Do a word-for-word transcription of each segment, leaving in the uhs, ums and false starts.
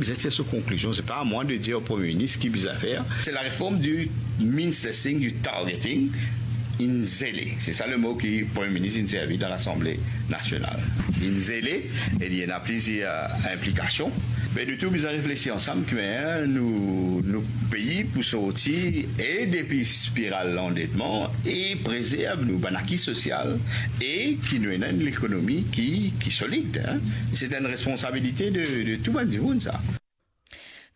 Bizin tir so konklizion, se pa a mwa de dir o Premie Minis ki bizin fer. Se lareform di means testing, di targeting, inn zele. Se sa lemo ki Premie Minis inn servi dan Lasanble Nasional. Inn zele, e li ena plizier inplikasion. Me nou tou bizin reflesi ansam ki, me, nou, nou pei pou sorti e depi spiral landetman e prezerv nou bann aki sosial e ki nou ena enn lekonomi ki, ki solid, hein. Se enn responsabilite de, de tou bann dimoun, sa.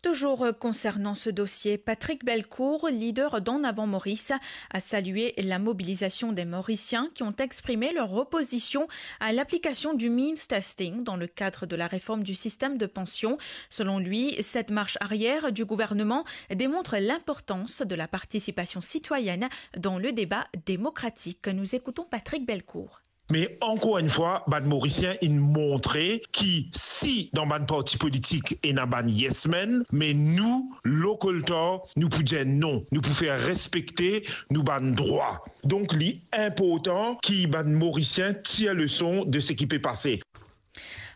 Toujours, euh, concernant ce dossier, Patrick Belcourt, leader d'En Avant Maurice, a salué la mobilisation des Mauriciens qui ont exprimé leur opposition à l'application du means testing dans le cadre de la réforme du système de pension. Selon lui, cette marche arrière du gouvernement démontre l'importance de la participation citoyenne dans le débat démocratique. Nous écoutons Patrick Belcourt. Me ankor enn fwa, bann Morisien inn montre ki si dan bann parti politik ena bann yes men, me nou, local tar, nou pou dir non, nou pou fer respekte nou bann drwa. Donk, li inportan ki bann Morisien tir leson de seki pe pase.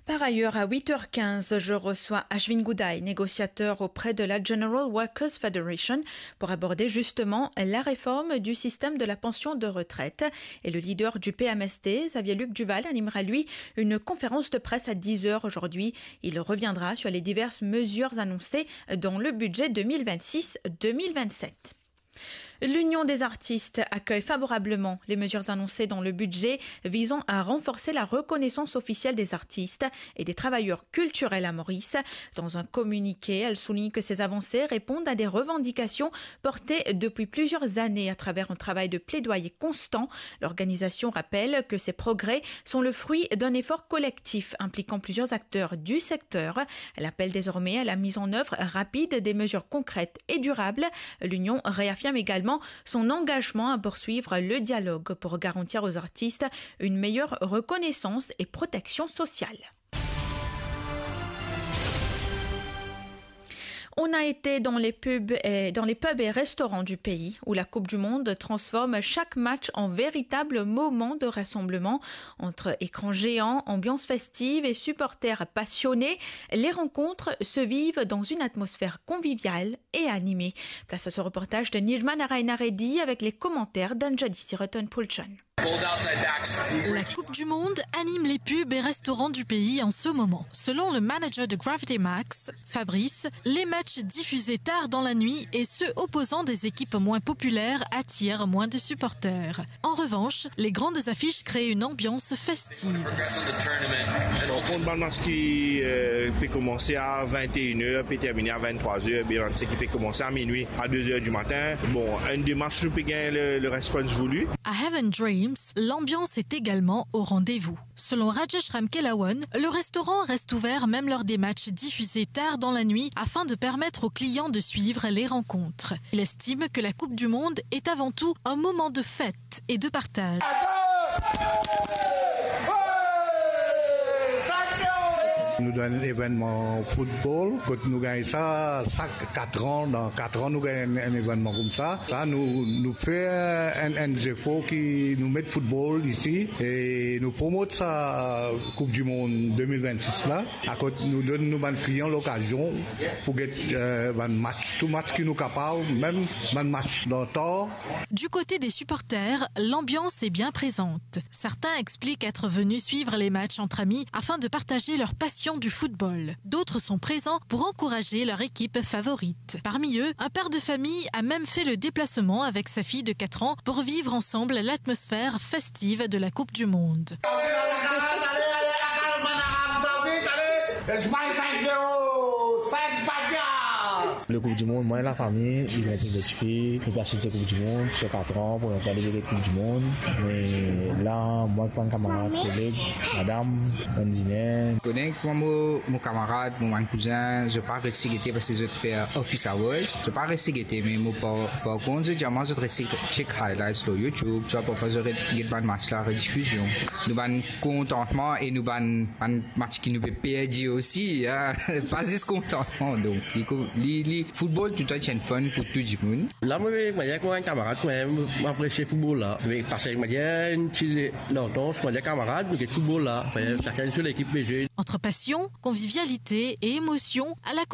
Par ailleurs, à huit heures quinze, je reçois Ashwin Goudai, négociateur auprès de la General Workers Federation, pour aborder justement la réforme du système de la pension de retraite. Et le leader du P M S T, Xavier Luc Duval, animera, lui, une conférence de presse à dix heures aujourd'hui. Il reviendra sur les diverses mesures annoncées dans le budget deux mille vingt-six deux mille vingt-sept. L'Union des artistes accueille favorablement les mesures annoncées dans le budget visant à renforcer la reconnaissance officielle des artistes et des travailleurs culturels à Maurice. Dans un communiqué, elle souligne que ces avancées répondent à des revendications portées depuis plusieurs années à travers un travail de plaidoyer constant. L'organisation rappelle que ces progrès sont le fruit d'un effort collectif impliquant plusieurs acteurs du secteur. Elle appelle désormais à la mise en œuvre rapide des mesures concrètes et durables. L'Union réaffirme également son engagement à poursuivre le dialogue pour garantir aux artistes une meilleure reconnaissance et protection sociale. On a été dans les pubs et, dans les pubs et restaurants du pays où la Coupe du Monde transforme chaque match en véritable moment de rassemblement. Entre écrans géants, ambiance festive et supporters passionnés, les rencontres se vivent dans une atmosphère conviviale et animée. Place à ce reportage de Nirmala Reddy avec les commentaires d'Anjali Siraton Pulchan. La Coupe du Monde anime les pubs et restaurants du pays en ce moment. Selon le manager de Gravity Max, Fabrice, les matchs diffusés tard dans la nuit et ceux opposant des équipes moins populaires attirent moins de supporters. En revanche, les grandes affiches créent une ambiance festive. Bon, bann match ki, euh, pe komanse a vingt et une heures, pe termine a vingt-trois heures, bien seki pe komanse a minuit, a deux heures du matin. Bon, enn de match nou pe gagn le, le response voulu. À Heaven Dreams, l'ambiance est également au rendez-vous. Selon Rajesh Ramkalawan, le restaurant reste ouvert même lors des matchs diffusés tard dans la nuit afin de permettre aux clients de suivre les rencontres. Il estime que la Coupe du Monde est avant tout un moment de fête et de partage. Nou dan enn evennman football, kot nou gagn sa sak kat an, dan kat an nou gagn enn, enn evennman koumsa. Sa nou, nou fer enn, enn zefor ki nou met football isi e nou promot sa Coupe du Monde deux mille vingt-six la, akoz nou donn nou bann klian lokazion pou get, euh, bann match, tou match ki nou kapav, mem bann match dan tar. Du côté des supporters, l'ambiance est bien présente. Certains expliquent être venus suivre les matchs entre amis afin de partager leur passion du football. D'autres sont présents pour encourager leur équipe favorite. Parmi eux, un père de famille a même fait le déplacement avec sa fille de quatre ans pour vivre ensemble l'atmosphère festive de la Coupe du Monde. Le Coupe du Monde, mwa ek lafami, li konpran tifi, nou pe asiste Coupe du Monde, swa kat an, premie fwa li pe get Coupe du Monde. Me la, mwa ek bann kamarad, koleg, madam, bann diner. Konek mwa, mo, mo kamarad, mo bann kouzin, zot pa resi gete parski zot fer office hours. Zot pa resi gete, me mo par, par kont, zot dir mwa zot resi check highlights lor YouTube, swa parfwa zot re-, get bann match la, redifizion. Nou bann kontantman e nou bann, bann match ki nou pe perdi osi, hein. Pa zis kontantman, donk, li ko-, li, li Football, toutan ti enn fun pou tou dimoun. La, mo, mo, mo, ek mo enn kamarad, mo, mo apresie football la. Me pas ek mo, enn ti lantans, mo, kamarad, nou get football la. Me, sakenn so lekip pe zwe. Entre passion, convivialité et émotion, à la Coupe